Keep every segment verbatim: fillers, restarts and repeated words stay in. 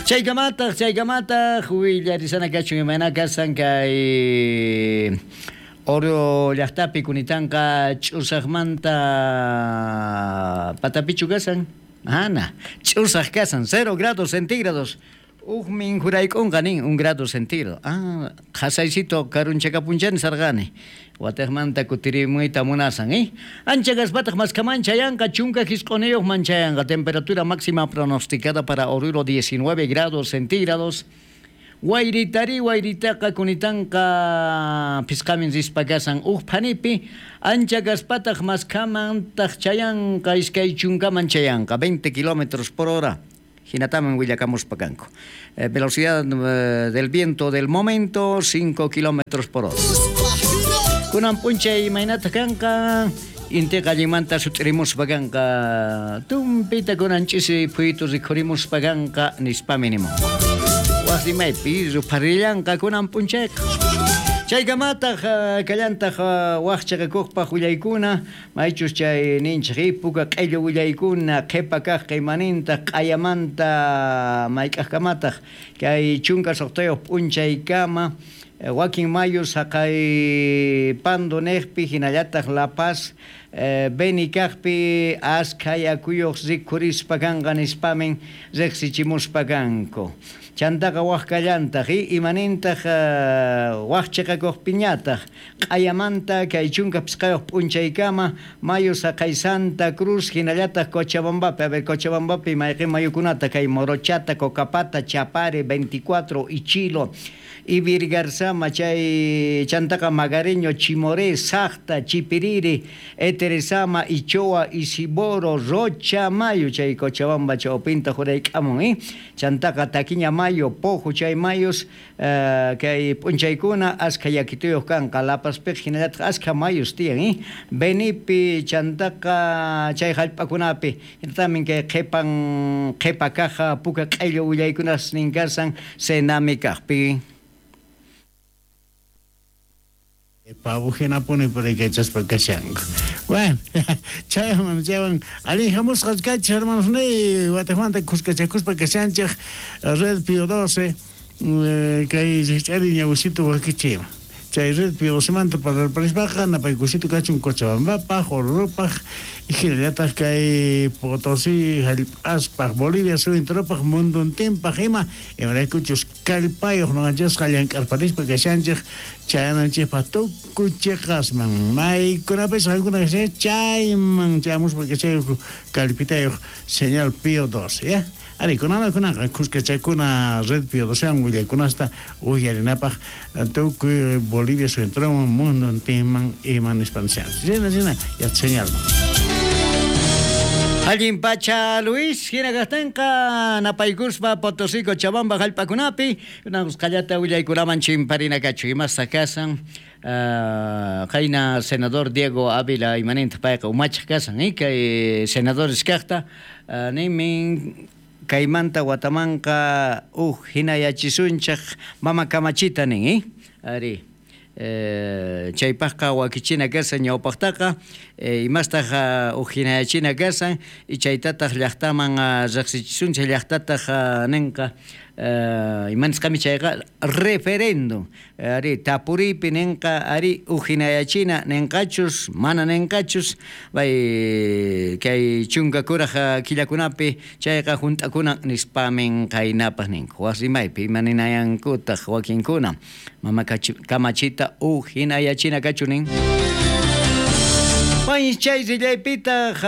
Chaykamataq, chaykamataq willarisana kachun imayna kasan kay Oro llaqtapi kunitanqa ch'usaqmanta patapichu kasan? Ana, ch'usaq kasan, cero grados centígrados. Ujmin jurayk'unqa nin un grado centígrado. Ah, qhasaysito karunchakapunchani sarqani. Wataqmanta kutirimuyta munasan, eh? Ancha gaspataq maskaman chayanqa chunka jisq'uniyuq manchayanqa. Temperatura máxima pronosticada para Oruro diecinueve grados centígrados. Wayritari wayritaqa kunitanqa pisqamin rispa kasan uj phanipi ancha gaspataq maskamantaq chayanqa iskay chunkaman chayanqa veinte kilómetros por hora. Hinataman willakamuspa kanku. Eh, velocidad eh, del viento del momento cinco kilómetros por hora. Kunan p'unchay imaynataq kanqa intiqa allinmanta sut'irimuspa kanqa tumpita kunan ch'isi phuytu rikhurimuspa kanqa nispami nimun. Waqrimaypi rupharillanqa kunan p'unchayqa. Chaykamataq kallantaq waq chiqakuqpaq willaykuna maychus chay ninchik puka q'illu willaykuna qhipa kaq qimanintaq q'ayamanta mayk'aqkamataq kay chunka suqtayuq p'unchaykama wakin mayu saqay Pando niqpi hinallataq La Paz Beni kaqpi askha yakuyuq rikhurispa kanqa nispamin riqsichimuspa kanku. Chantaqa waq kallantaq imanintaq waq chiqakuqpiñataq q'ayamanta kay chunka pisqayuq p'unchaykama mayu saqay Santa Cruz hinallataq Cochabambapi. A ver, Cochabambapi mayqin mayukunata kay Morochata, Cocapata, Chapare, veinticuatro, Ichilo, Ibirgarzama, chay chantaqa Magareño, Chimoré, Saqta, Chipiriri, Eteresama, Ichoa, Isiboro, Rocha, Mayo, chay Cochabamba chawpinta jurayk'amun, eh? Chantaqa Taquiña Mayo, Pojo, chay mayos, uh, kay p'unchaykuna askha yakituyuq kanqa, La Pazpiq hinallataq askha mayos tiyan, eh? Benipi, chantaqa chay hallp'akunapi, hinatamin kay qhipan qhipa kaja puka q'illu willaykunas nin kasan Senami kaqpi. Pavo hinapuni puriykachaspa kashanku. Bueno, chayman chaywan allin hamusqas kachis hermanos ni wataqmanta kuskachakuspa kashanchik Red Pío doce kay rikch'ari ñawisitu wakichima. Chay Red Pío docemanta parlarparispaqa napaykusitu kachun Cochabambapaq, Orurupaq, hinallataq kay Potosí hallp'aspaq, Bolivia suyunturopaq, munduntinpaq ima imaraykuchus kallpayuq nuqanchikqa llank'arparispa kashanchik chayananchikpaq tukuy chiqasman maykunapis qankuna kashanchik chayman chayamuspa kashayku kallpitayuq señal Pío doce, ya. Ari, kunana kunanqa kuskachakuna Red Pío docewan willaykunasta uyarinapaq tukuy Bolivia suyunturoman munduntinman ima nispa nishanchik. Chayna chayna ya señalman. Allin pacha Luis, hina kaqtinqa napaykuspa Potosí Cochabamba hallp'akunapi kunanqallata willaykunaman chimparina kachu imasta kasan uh, qayna senador Diego Ávila imanintaq payqa umachaq kasan eh? Kay senadores kaqta uh, nimin kaymanta watamanqa uj hinayachisunchaq mama kamachita nin eh? Ari Eh, chaypaqqa wakichina kasan ñawpaqtaqa eh, imastaq uh, uj hinayachina kasan y chaytataq llaqtaman uh, riqsichisunchik llaqtataq uh, ninqa uh, imanisqami chayqa referéndum ari tapuripi ninqa ari uj hinayachina ninqachus mana ninqachus bay kay chunka kuraq killakunapi chayqa hunt'akuna nispamin qaynapaq ninku wasimaypi imaninayankutaq wakinkuna mama kamachita uj hinayachina kachunin. Pay chay rillaypitaq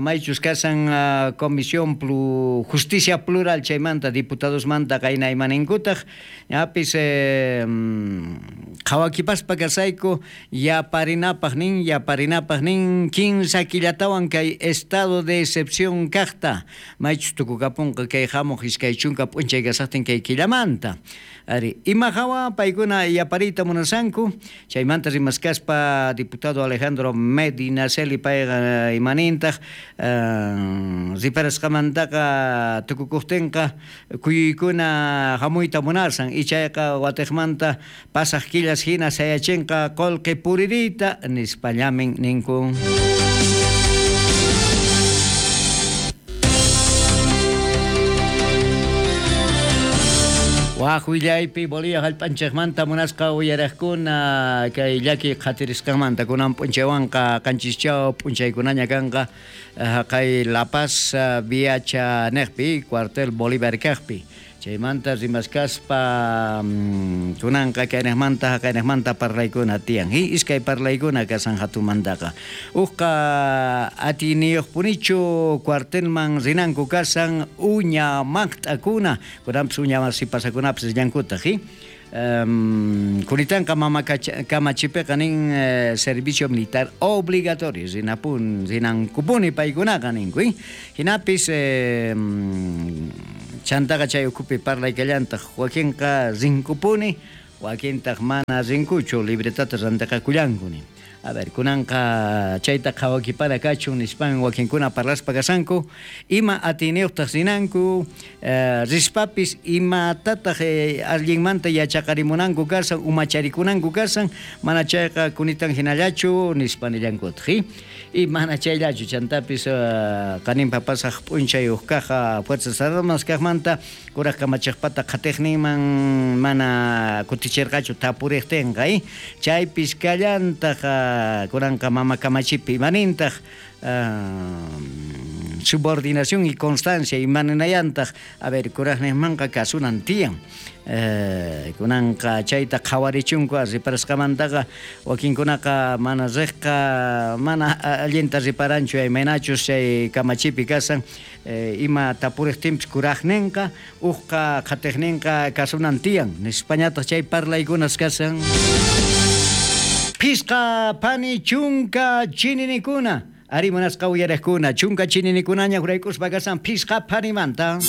maychus kasan Comisión Plu, Justicia Plural chaymanta diputadosmanta qayna imaninkutaq ñapis eh, qhawakipaspa kasayku yaparinapaq nin yaparinapaq nin kinsa killatawan kay estado de excepción kaqta maychus tukukapunqa kay hamuq iskay chunka p'unchay kasaqtin kay killamanta ari ima hawa paykuna yapariyta munasanku chaymanta rimaskaspa diputado Alejandro Medinaceli payqa imanintaq uh, riparasqamantaqa tukukuqtinqa kuyuykuna hamuyta munasan ichayqa watiqmanta pasaq killas hina sayachinqa qullqi puririyta nispallamin ninku. Waj willaypi Bolivia jallp'anchikmanta munasqa uyaraqkuna kay llaki qhatirisqanmanta kunan p'unchaywanqa qanchischaw p'unchaykunaña kanqa haqay La Paz Viacha niqpi cuartel Bolívar kaqpi chaymanta rimaskaspa kunanqa kayniqmanta haqayniqmanta parlaykuna tiyan hi iskay parlaykuna kasan hatumantaqa uqqa atiniyuqpunichu cuartelman rinanku kasan uña maqt'akuna kunanpis uña masipasakunapis rillankutaq hi Um, Kunitanqa mama kamachipiqa nin eh, servicio militar obligatorio rinapun rinankupuni paykunaqa ninku hinapis eh, chantaqa chay ukhupi parlaykallantaq wakinqa rinkupuni wakintaq mana rinkuchu libretata rantiqakullanku nin. A ver, kunanqa chayta qhawakipara kachun nispan wakinkuna parlaspa kasanku ima atiniyuqtaq rinanku eh, rispapis imatataq eh, allinmanta yachaqarimunanku kasan umacharikunanku kasan mana chayqa kunitan hinallachu nispa nillankutaq hi y mana chayllachu chantapis uh, qaninpa pasaq p'unchay uq kaqa Fuerzas Armadas kaqmanta kuraq kamachiqpata qhatiqninman mana kutichirqachu tapuriqtinqa eh? Chaypis kallantaq kunanqa mama kamachipi imanintaq uh, subordinación y constancia imaninayantaq a ver kuraqninmanqa kasunan tiyan eh, kunanqa chayta qhawarichunku riparasqamantaqa wakinkunaqa mana riqqa mana allinta riparanchu imaynachus chay kamachipi kasan eh, ima tapuriqtinpis kuraqninqa uqqa qhatiqninqa kasunan tiyan nispañataq chay parlaykunas kasan. Pisqa pani chunka chininikuna ari munasqa uyaraqkuna chunka chininikunaña huraykuspa kasan pisqa panimanta.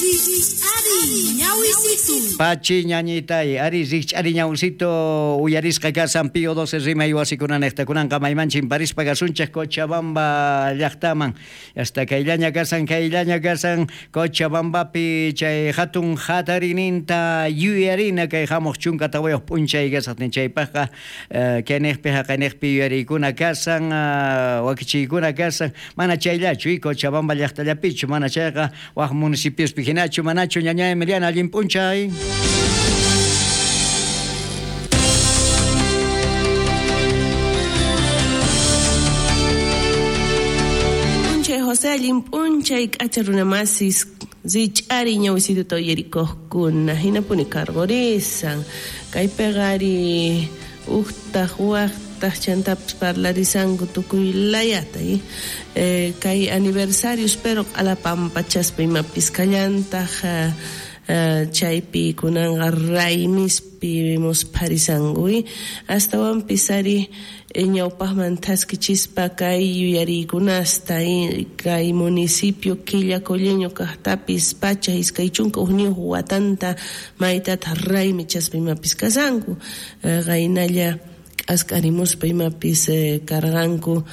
Pachi ñañitay ari rikch'ari ñawsito uyarisqa kasan Pío doce rimay wasikunanejta kunanqa maymanchin parispa kasunchik Cochabamba llaqtaman hasta kayllaña kasan kayllaña kasan Cochabambapi chay hatun hatarininta yuyarina kay hamuq chunka tawayuq p'unchay kasaqtin chaypaqqa kayniqpi haqayniqpi yuyariykuna kasan wakichiykuna kasan mana chayllachu Cochabamba llaqtallapichu mana chayqa waq municipiospi hinachu manachu ñañay Emiliana allin p'unchay. P'unchay José allin p'unchay k'acha runamasis rich'ari ñawisituta uyarikuqkuna hinapuni cargorisan kaypiqa ari uqtaq waqtaq chantapis parlarisanku tukuy layata eh, kay aniversarios pero q'alapampachaspa imapis kallantaq Uh, chaypi kunanqa raymispi muspharisanku astawanpis ari ñawpaqman thaskichispa kay yuyariykunasta kay municipio Quillacolleño kaqtapis pacha iskay chunka hukniyuq watanta maytataq raymichaspa imapis kasanku qaynalla k'ask'arimuspa imapis karqanku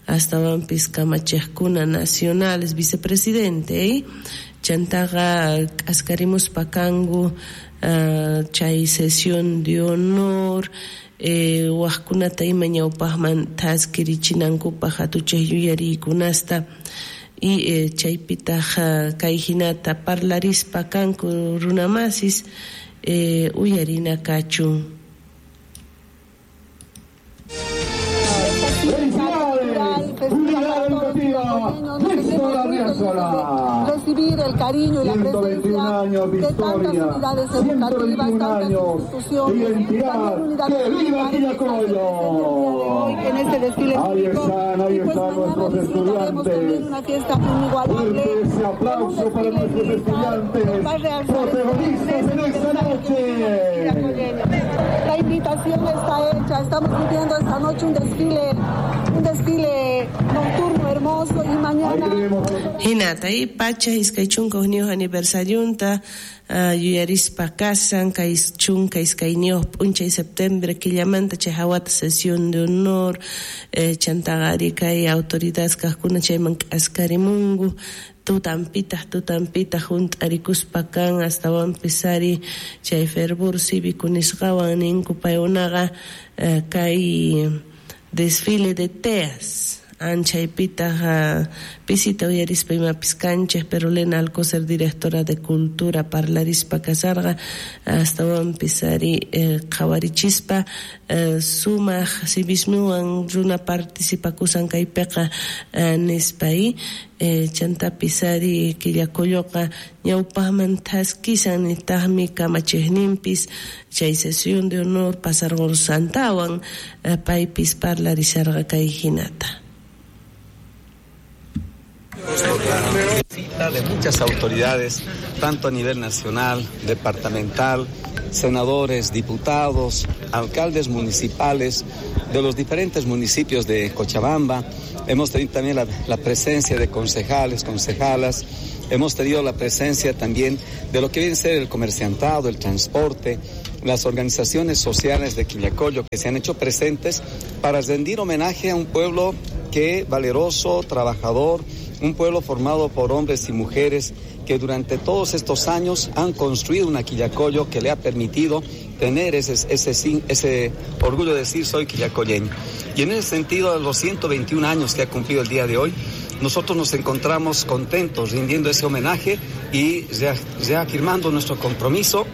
astawanpis kamachiqkuna nacionales vicepresidente eh? Chantaqa k'askarimuspa kanku uh, chay sesión de honor eh, waqkunata ima ñawpaqman thaskirichinankupaq hatuchaq yuyariykunasta y eh, chaypitaq kay hinata parlarispa kanku runamasis eh, uyarina kachun. Recibir el cariño y la presencia de tantas unidades educativas, tantas instituciones, también unidades militares que están hoy en este desfile cívico. Y pues mañana disfrutaremos también una fiesta inigualable, ese aplauso para nuestros estudiantes, protagonistas en esta noche. La invitación está hecha, estamos viviendo esta noche un desfile, un desfile nocturno hermoso y mañana. Hinata y pacha iskay chunka hukniyuq aniversariunta uh, yuyarispa kasan kay chunka iskayniyuq p'unchay septiembre killamanta chay hawata sesión de honor eh, chantaqa ari kay autoridades kaqkuna chayman k'askarimunku tutampitaq tutampitaq hunt'arikuspa kan astawanpis ari chay fervor cívico nisqawan ninku paykunaqa eh, kay desfile de teas Anchaypitaq pisita uyarispa imapis kanchej, pero Lena Alcocer, directora de Cultura, parlarispa kasarqa, astawanpis ari qhawarichispa sumaq civismowan runa participakusan kaypiqa nispa chantapis ari Quillacolloqa ñawpaqman thaskisan nitaqmi kamachejninpis chay sesión de honor pasarqursantawan paypis parlarisharqa kay hinata. De muchas autoridades, tanto a nivel nacional, departamental, senadores, diputados, alcaldes municipales de los diferentes municipios de Cochabamba. Hemos tenido también la, la presencia de concejales, concejalas. Hemos tenido la presencia también de lo que viene a ser el comerciantado, el transporte, las organizaciones sociales de Quillacollo que se han hecho presentes para rendir homenaje a un pueblo que valeroso, trabajador, un pueblo formado por hombres y mujeres que durante todos estos años han construido una Quillacollo que le ha permitido tener ese, ese, ese orgullo de decir soy quillacolleño. Y en ese sentido, a los ciento veintiún años que ha cumplido el día de hoy, nosotros nos encontramos contentos rindiendo ese homenaje y reafirmando nuestro compromiso.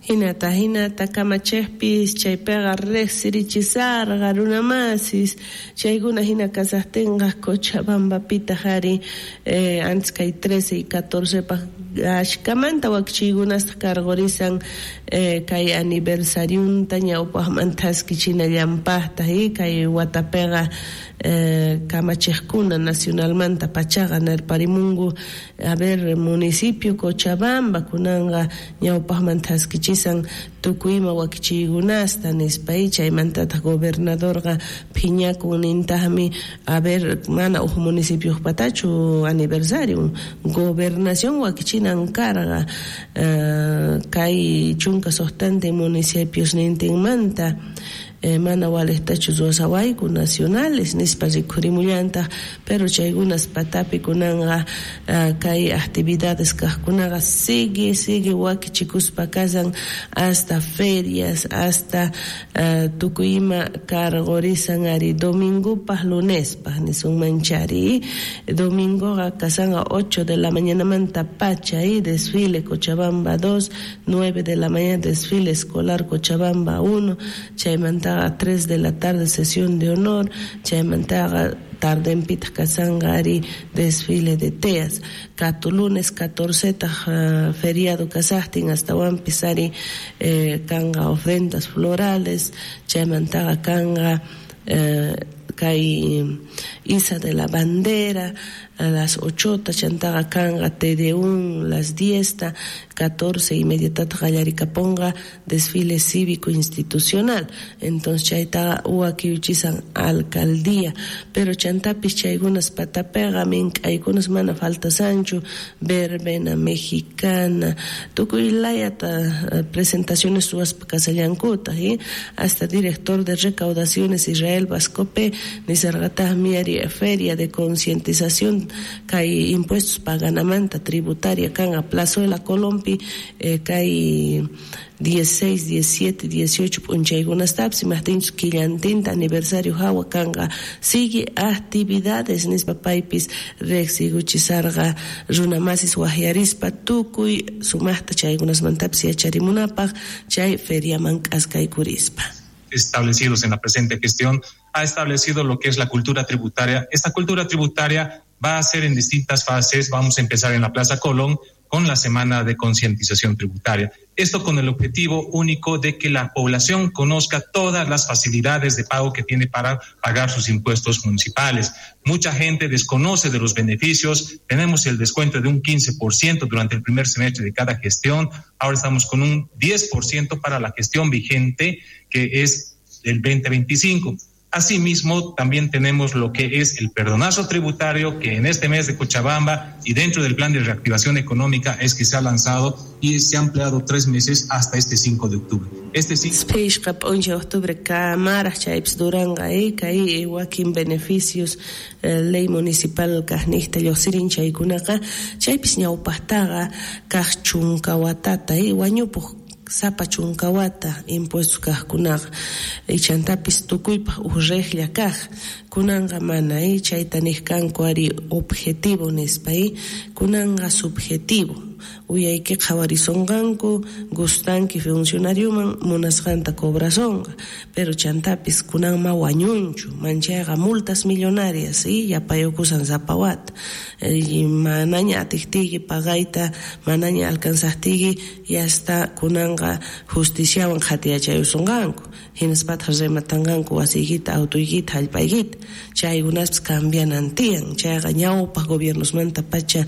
Hinata, hinata, kamachejpis, chaypiqa riqsirichisarqa runamasis, chaykuna hina kasaqtinqa Cochabambapitaq ari eh, antes kay trece y catorce paq ashkamanta wakichiykunasta karqurisan eh, kay aniversariunta ñawpaqman thaskichinallanpaqtaq y kay watapiqa eh, kamachejkuna nacionalmanta pachaqa nirparimunku a ver municipio Cochabamba kunanqa ñawpaqman thaskichisan tukuyma wakichiykunasta nispa y chaymantataq gobernadorqa phiñakun nintaqmi a ver mana uj municipiojpatachu aniversario gobernación wakichinan karqa uh, kay chunka suqtantin municipios nintinmanta eh, mana walejtachu ruwasawayku nacionales nispa rikhurimullantaj, pero chaykunas patapi kunanqa uh, kay actividades kajkunaqa sigue sigue wakichikuspa kasan hasta ferias hasta uh, tukuy ima karqurisan ari domingopaj lunespaj nisunmanchari domingoqa kasanqa ocho de la mañanamanta pacha y desfile Cochabamba dos, nueve de la mañana desfile escolar Cochabamba uno, chaymanta a tres de la tarde sesión de honor, chaymantaqa tardenpitaq kasanqa ari desfile de teas, katu lunes catorce taj uh, feriado kasaqtin astawanpis ari eh, kanqa ofrendas florales, chaymantaqa kanqa eh, kay Isa de la Bandera a las ocho, chantaqa kanqa T D uno las diez, catorce y media tata qallarikaponqa desfile cívico institucional. Entonces chaytaqa wakiuchisan alcaldía, pero chantapis chaykunas patapiqa mink'aykunas mana faltasanchu, verbena mexicana, tukuy layata presentaciones suwaspa kasallankuta, ¿sí? Hasta director de recaudaciones Israel Vascope nisarqataqmi ari feria de concientización kay impuestos paganamanta tributaria kanqa Plazuela Colompi eh, kay dieciséis, diecisiete, dieciocho p'unchaykunastapis imajtinchus killantinta aniversario hawa kanqa sigue actividades nispa paypis riqsikuchisarqa runamasis waqyarispa tukuy sumaqta chaykunasmantapis yacharimunapaq chay feriaman k'askaykurispa. Establecidos en la presente gestión, ha establecido lo que es la cultura tributaria. Esta cultura tributaria va a ser en distintas fases. Vamos a empezar en la Plaza Colón con la semana de concientización tributaria. Esto con el objetivo único de que la población conozca todas las facilidades de pago que tiene para pagar sus impuestos municipales. Mucha gente desconoce de los beneficios. Tenemos el descuento de un quince por ciento durante el primer semestre de cada gestión. Ahora estamos con un diez por ciento para la gestión vigente, que es el veinte veinticinco. Asimismo, también tenemos lo que es el perdonazo tributario, que en este mes de Cochabamba y dentro del plan de reactivación económica es que se ha lanzado y se ha ampliado tres meses hasta este cinco de octubre. Este cinco de octubre, kamaraj chaypis duranqa kay wakin beneficios ley municipal kajnijta lluqsirin chaykunaqa chaypis ñawpaqtaqa kaq chunka watata wañupuq Sapa chunka wata impuestos kajkunaqa ichantapis tukuypaj uj regla kaj kunanqa mana chayta niq kanku ari objetivo nispa kunanqa subjetivo uyayki qhawarisonqanku gustanki funcionarioman munasqanta cobrasonqa pero chantapis kunanma wañunchu manchayqa multas millonarias y yapayukusan sapa wata manaña atiqtiyki pagayta manaña alcanzaqtiyki ya hasta kunanqa justiciawan qhatiyachayusonqanku hinaspataq rematanqanku wasiykita autoykita hallp'aykita chaykunaspis cambianan tiyan chayqa ñawpaq gobiernosmanta pacha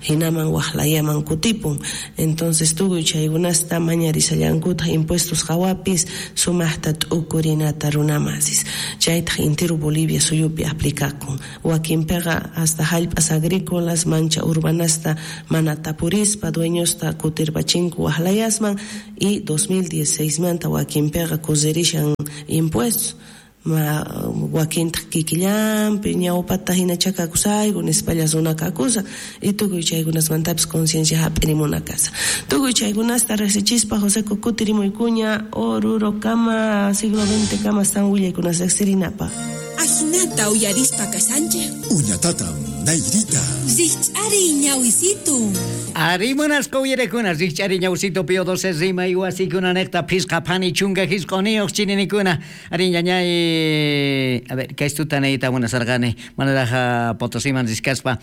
hinaman waqlayaman kutipun entonces tukuy chaykunasta mañarisallankutaq impuestos qhawapis sumaqta t'ukurinata runamasis chaytaq intero Bolivia suyupi aplicakun wakinpiqa hasta hallp'as agrícolas mancha urbanasta mana tapurispa dueñosta kutirpachinku waqlayasman y dos mil dieciséis manta wakinpiqa kusirishan impuestos ma wakintaq kikillanpi ñawpata hinacha kakusayku nispalla runa kakusa y tukuy chaykunasmantapis conciencia hap'irimuna kasa tukuy chaykunasta riqsichispa José kutirimuykuña Oruro kama siglo veinte kama están willaykunas riqsirinapaq. Ajinata uyarispa kashanchej Uñatatam nayrita Rich'ari ñawisitu Arimunasqa uyarekuna rich'ari ñawisitu pio doce rima iwasikuna neqta phisqa phani chunka hisq'uniyuq chininikuna ari ñañay a ver kaystuta nayta munasarqani manaraj Potosiman riskaspa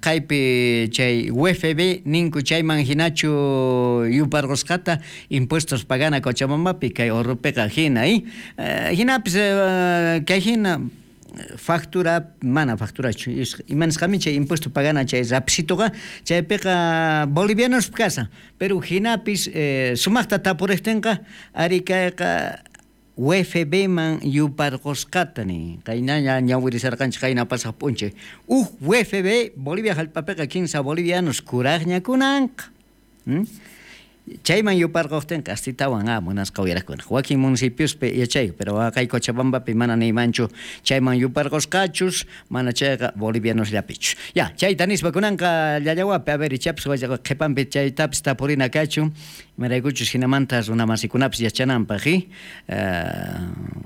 kaypi chay U F B ninku chayman hinachu yuparqusqata impuestos pagana Cochabambapi kay Orrupiqa hina y hinapis kay hina factura mana facturachu imanisqami chay impuesto pagana chay rapsituqa chaypiqa bolivianos kasa pero hinapis eh, sumaqta tapuriqtinqa ari kayqa U F B man yuparqusqata nin qaynaña ñawirisarqanchik qayna pasaq p'unchay uj U F B Bolivia hallp'apiqa kinsa bolivianos kuraqña kunanqa hmm? Chayman yuparquqtinqa astitawan a munasqa uyarakuna wakin municipiospi yachayku pero kay Cochabambapi mana niymanchu chayman yuparqusqachus mana chayqa bolivianosllapichu ya chayta nispa kunanqa llallawapi a ver ichapis qhipanpi chaytapis tapurina kachun imaraykuchus hinamanta runamasikunapis yachananpaq i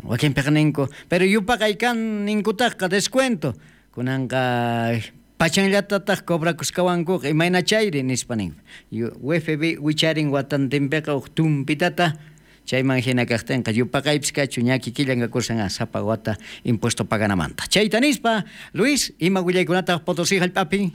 wakinpiqa ninku pero yupaqay kan ninkutaqqa descuento kunanqa pachanllatataq cobrakusqawankuqa imayna chayri nispa nin U F B wicharin watantinpiqa uj tumpitata chayman hina kaqtinqa yupaqaypis kachu ña kikillan kakusan sapa wata impuesto paganamanta chayta nispa Luis ima willaykunataq Potosí hallp'api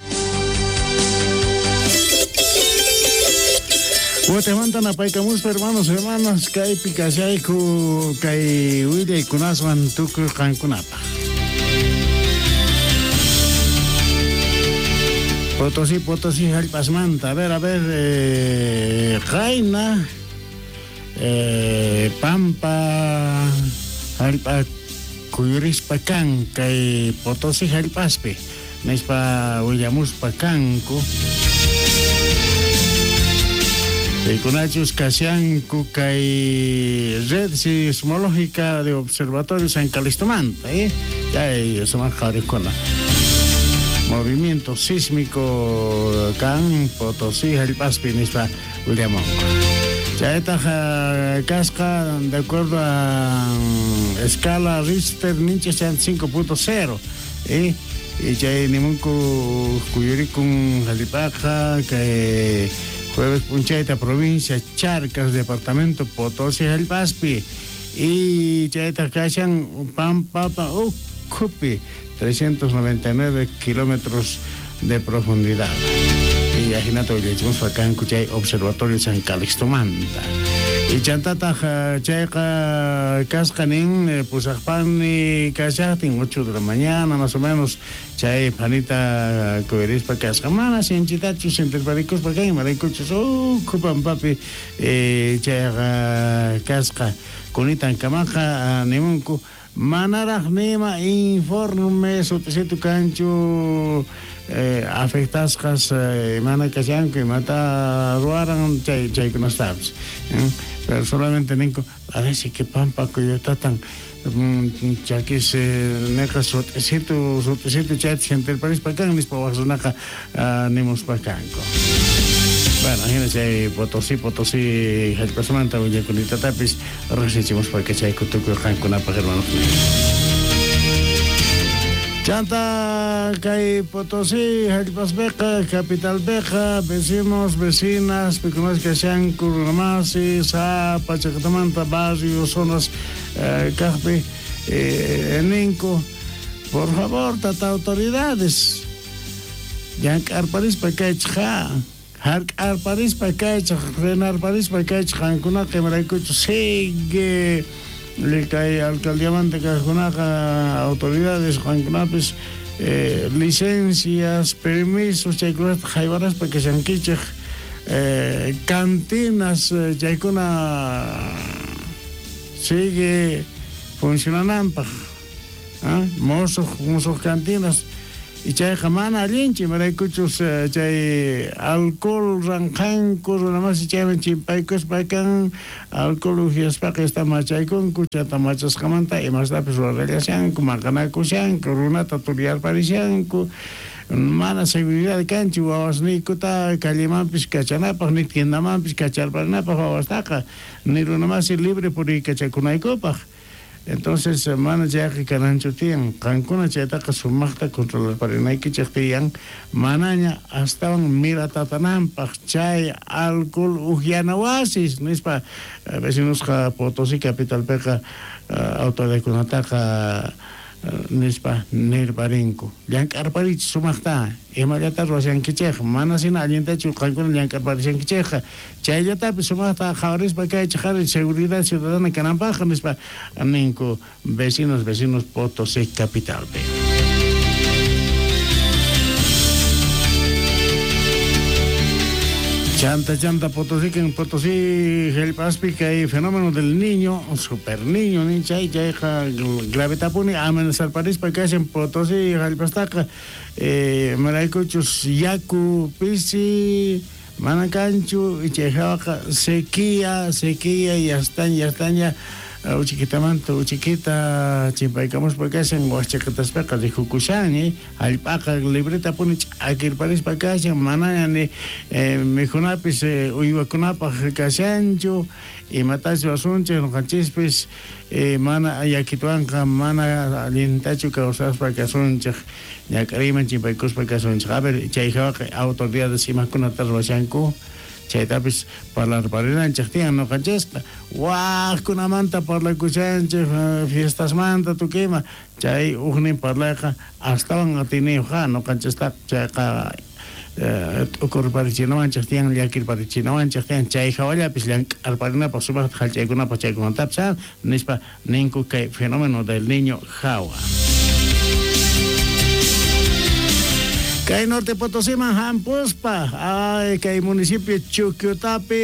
Watemanta napaykamuspa hermanos hermanas kaypi kashayku kay willaykunaswan tukuy qankunapaq Potosí, Potosí, hallp'asmanta. A ver, a ver, eh, qayna, eh, pampa, hallp'a kuyurispa kan, kay Potosí hallp'aspi, nispa willamuspa kanku. Kunachus kashanku kay red sismológica de Observatorio San Calistomanta, eh? Chay sumaq qharikuna. Movimiento sísmico kan Potosí hallp'aspi nispa willamunku. Chaytaq kasqa de acuerdo a escala Richter ninchis cinco punto cero eh y chay nimunku kuyurikun hallp'aqa kay jueves punchayta provincia Charcas departamento Potosí hallp'aspi y chaytaq kashan pampapa ukhupi trescientos noventa y nueve kilómetros de profundidad. Y ajinato willachimospa kanku chay Observatorio San Calixtomanta. Y chantataq chayqa kasqa nin pusaqpani kashaqtin ocho de la mañana más o menos chay panita kuyurispa kasqa mana sinchitachu sintirparikuspa kan imaraykuchus ukhu pampapi eh, chayqa kasqa kunitan kamaqa nimunku manaraq nima informe sutisitu kanchu eh, afectasqas eh, mana kashanku imata ruwaran chay chaykunastapis eh? Pero solamente ninku parece que pampa kuyutatan mm, chakis eh, neqa sutisitu sutisitu chayta sintirparispa kan nispa waq runaqa uh, nimuspa kanku. Bueno, ajina chay Potosí, Potosí jallp'asmanta willakunitatapis riqsichimuspa kachayku tukuy qankunapaq hermanos. Chanta kay Potosí jallp'aspiqa capitalpiqa vecinos, vecinas, pikunas kashanku runamasi sapa chaqtamanta barrios, zonas eh, kaqpi eh, ninku por favor tata autoridades llank'arparispa kaychik ja hark'arparispa kaychik renarparispa kaychik qankunaqa imaraykuchu sigue kay alcaldiamanta kaqkunaqa autoridades qankunapis eh, licencias, permisos chaykunata haywaraspa kashankichik eh, cantinas chaykuna sigue funcionananpaq ¿ah? Mosuq mosuq cantinas y chayqa mana allinchu imaraykuchus chay alcohol ranqanku runamasi chayman chimpaykuspa kan alcohol uhyaspaqa esta machaykunku chayta machasqamanta imastapis rurallashanku maqanakushanku runata turyarparishanku mana seguridad kanchu wawasniykuta callemanpis kachanapaq ni tiendamanpis kacharparinapaq wawastaqa ni runamasi libre puriykachakunaykupaq. Entonces, mana chayqa kananchu tiyan qankuna chaytaqa sumaqta controlarparinaykichik tiyan manaña astawan miratatananpaq chay alcohol uhyana wasis nispa vecinosqa Potosí capitalpiqa autoridadkunataqa nispa nirparinku llank'arparichik sumaqta imallata ruwashankichik mana sina allintachu qankuna llank'arparishankichikqa chayllatapis sumaqta qhawarispa kaychik ari seguridad ciudadana kananpaq nispa ninku vecinos vecinos Potosí capitalpi. Chanta, chanta, Potosí, que en Potosí, jallp'aspi kay fenómeno del niño, super niño, ni chay, chayqa gravetapuni amenazarparispa kashan Potosí jallp'astaqa eh, maraykuchus yaku pisi, mana kanchu, y chayjawaqa sequía, sequía, yastaña, yastaña, uchikitamanta uchikita chimpaykamuspa kashan waqchaqataspaqa rikukushan jallp'aqa libretapuni ch'akirparispa kashan manaña ni eh, mikhunapis eh, uywakunapaq kashanchu imatachu asunchik ñuqanchispis eh, mana yakituwanqa mana allintachu kawsaspa kasunchik ñak'ariyman chimpaykuspa kasunchik. A ver chayjawaqa autoridades imakunata ruwashanku chaytapis parlarparinanchik tiyan ñuqanchisqa waqkunamanta parlakushanchik fiestasmanta tukuyma chay ujnin parlayqa astawan atiniyuq ñuqanchistaqa chayqa t'ukurparichinawanchik tiyan llakirparichinawanchik tiyan chay hawallapis llank'arparinapaq sumaqta jallch'aykunapaq chaykunatapis nispa ninku kay fenómeno del niño hawa. Kay Norte Potosíman hampuspa, ay kay municipio Chuquiutapi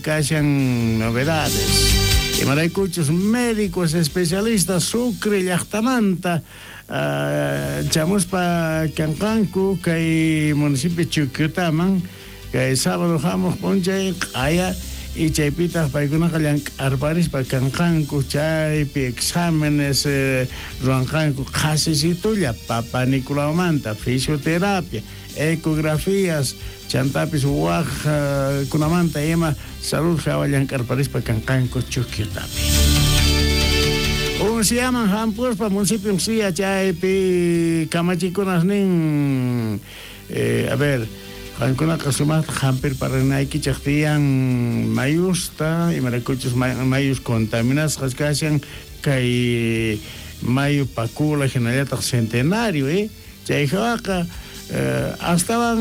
kashan novedades. Imaraykuchus médicos especialistas Sucre llaqtamanta uh, chamuspa kanqanku kay municipio Chuquiutaman kay sábado hamuq p'unchay q'aya y chaypitaq paykunaqa llank'arparispa kanqanku chaypi exámenes eh, ruwanqanku qhasisitulla Papanicolaumanta fisioterapia ecografías chantapis waq uh, kunamanta ima salud hawa llank'arparispa kanqanku Chuquiutapi. Unciaman hampuspa municipio Uncia chaypi kamachikunas nin eh, a ver qankunaqa sumaqta hampirparinaykichik tiyan mayusta imaraykuchus mayus contaminasqas kashan kay mayu Pacula hinallataq Centenario eh chayjawaqa eh, astawan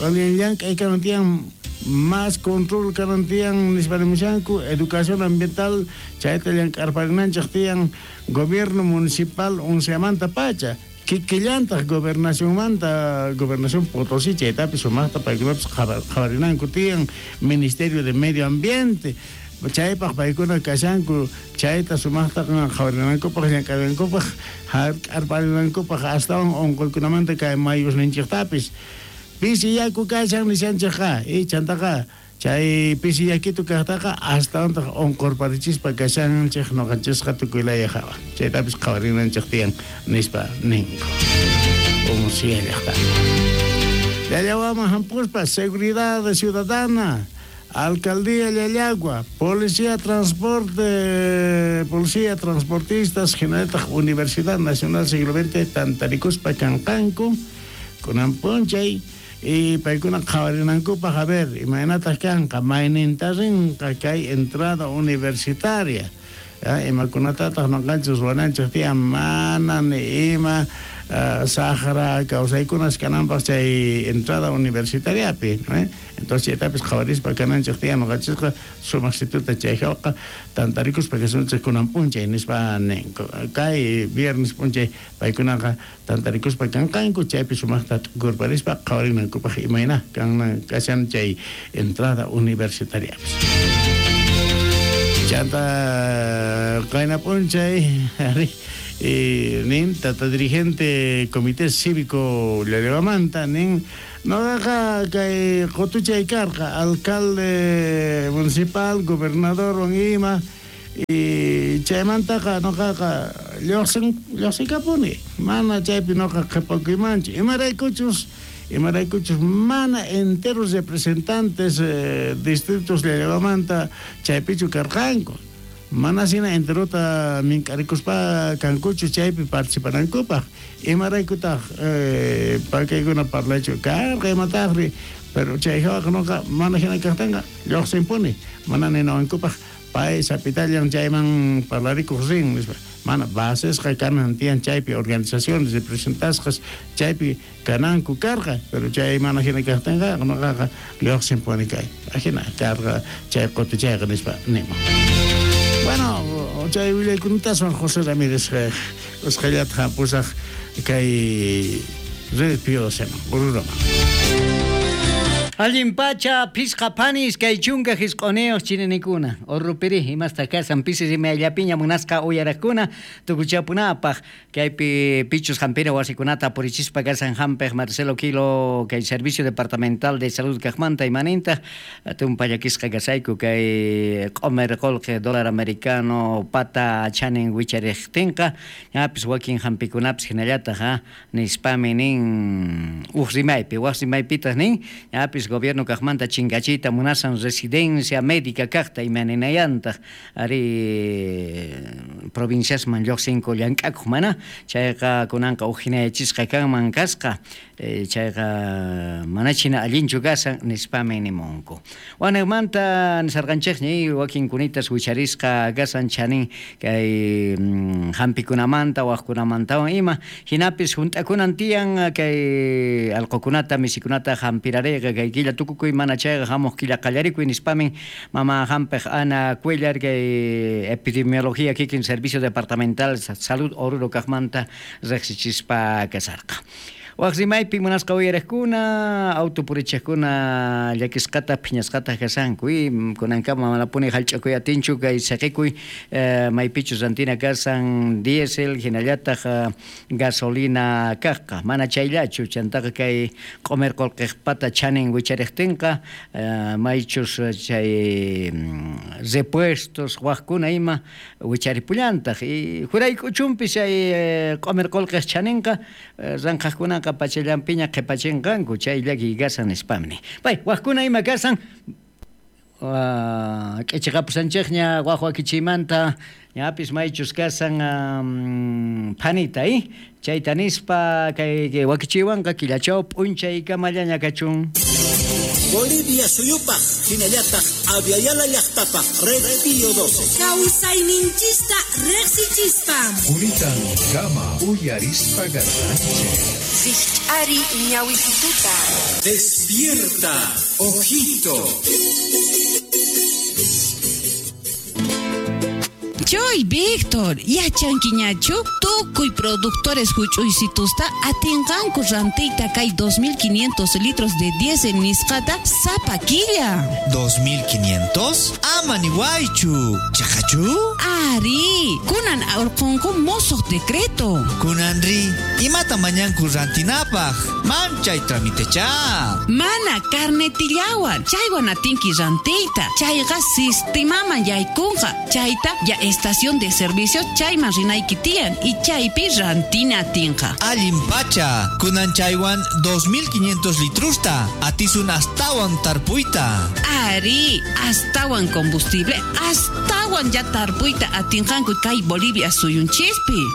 allin llank'ay kanan tiyan más control kanan tiyan nispa nimushanku educación ambiental chayta llank'arparinanchik tiyan gobierno municipal unciamanta pacha kikillantaq gobernacionmanta gobernación Potosí chaytapis sumaqta paykunapis qhawarinanku tiyan Ministerio de Medio Ambiente chaypaq paykuna kashanku chayta sumaqta qhawarinankupaq llank'arinankupaq hark'arparinankupaq astawan unquykunamanta kay mayusninchiktapis pisi yaku kashan nishanchikqa y chantaqa chay pisi yakitu kaqtaqa astawantaq unqurparichispa kashanchik ñuqanchisqa tukuylaya hawa chaytapis qhawarinanchik tiyan nispa ninku Uncia llaqta. Llallawaman hampuspa Seguridad Ciudadana, Alcaldía Llallagua, Policía Transporte, Policía Transportistas, hinallataq Universidad Nacional Siglo veinte tantarikuspa kanqanku kunan p'unchay y paykuna qhawarinankupaq a ver imaynataq kanqa mayninta rinqa kay entrada universitaria imakunatataq noqanchis ruwananchis tiyan mana ni ima Uh, saqra kawsaykunas kananpaq chay entrada universitariapi, ¿no? Entonces chaytapis qhawarispa kananchis tiyan noqanchisqa sumaq situta chay hawqa tantarikuspa kasunchis kunan p'unchay nispa ninku kay viernes p'unchay paykunaqa tantarikuspa kanqanku chaypi sumaqta t'ukurparispa qhawarinankupaq imayna kanan kashan chay entrada universitariapis. Chanta qayna p'unchay Eh, nin tata dirigente comité cívico Llallawamanta nin noqaqa kay qutuchay karqa alcalde municipal gobernador wan ima y chaymantaqa noqaqa lluqsin lluqsikapuni mana chaypi noqa qhipakuymanchu imaraykuchus imaraykuchus mana enteros representantes eh, distritos Llallawamanta chaypichu karqanku mana sina enterota mink'arikuspa kankuchu chaypi participanankupaq imaraykutaq eh, pakaykuna parlaychu karqa imataqri pero chay hawaqa noqa mana hina kaqtinqa lluqsinpuni mana ninawankupaq pay sapitallan chayman parlarikuq rin nispa mana basesqa kanan tiyan chaypi organizaciones representasqas chaypi kananku karqa pero chay mana hina kaqtinqa noqaqa lluqsinpuni kay ajina karqa chay qutuchayqa nispa niman. Bueno, chay willaykunataswan José Ramírez usqhayllata hampusaq kay Red Pío doceman, Oruroman. Allin pacha, pisqa panis, kay chunka hisq'uniyuq chininikuna. Urrupiri, imasta kasan pisi rimayllapiña munasqa uyaraqkuna tukuchapunapaq. Kaypi pichus hampina wasikunata purichispa kasan hampiq Marcelo Quilo kay Servicio Departamental de Salud kaqmanta imanintaq tumpallakisqa kasayku kay q'umir qullqi dólar americano pata chanin wichariqtinqa ñapis wakin hampikunapis hinallataq ha nispami nin uq rimaypi waq rimaypitaq nin ñapis gobierno kaqmanta chinkachiyta munasan residencia médica kaqta imaninayantaq ari provinciasman lluqsinku llank'akuq mana chayqa kunanqa uq hinayachisqa kanman kasqa eh, chayqa manachina allinchu kasan nispami nimunku. Wanaqmanta nisarqanchikñi wakinkunitas wicharisqa kasan chanin kay mm, hampikunamanta waqkunamantawan ima hinapis hunt'akunan tiyan kay allqukunata misikunata hampirariqa kay killa tukukuy mana chayqa hamuq killa qallarikuy nispamin mama hampiq Ana Cuellar kay epidemiología kikin Servicio Departamental Salud Oruro kaqmanta riqsichispa kasarqa. Waq rimaypi munasqa uyariqkuna auto purichiqkuna llakisqata phiñasqata kasanku y kunankama manapuni hallch'akuy atinchu kay saqikuy eh, maypichus rantina kasan diésel hinallataq gasolina kaqqa mana chayllachu chantaqa kay q'umir qullqiqpata chanin wichariqtinqa eh, maychus chay repuestos waqkuna ima wicharipullantaq y jurayk'uchunpis chay q'umir qullqiq chaninqa ranqaqkunaqa pachallampiña qhipachinqanku chay llakiy kasan nispamni. Pay, waqkuna ima kasan uh, k'ichiqapusanchikña waq wakichiymanta ñapis maychus kasan um, phanita eh? Chayta nispa kay wakichiywanqa killachaw p'unchaykamallaña kachun. Bolivia suyupaq hinallataq Aviala llaqtapaq Red Pío doce. Kawsayninchista riqsichispa. Unitan kama uyarispa garranche. Rikch'ari ñawisituta. Despierta, ojito. Choy, Víctor, yachankiñachu tukuy productores huch'uysitusta atinqanku rantiyta kay dos mil quinientos litros de diésel nisqata sapa killa. ¿dos mil quinientos? Ama niwaychu. Chaqachu? Ari, kunan urqunku musuq decreto. Kunanri, imata mañanku rantinapaq? Manchay tramitecha. Mana carnetillawan, chaywan atinki rantiyta. Chayqa sistemaman yaykunqa. Chayta ya estación Estación de servicio chayman rinayki tiyan y chaypi rantina atinqa. Allin pacha, kunan chaywan dos mil quinientos litrusta, atisun astawan tarpuyta. Ari, astawan combustible, astawan ya tarpuyta atinqanku kay Bolivia suyunchispi.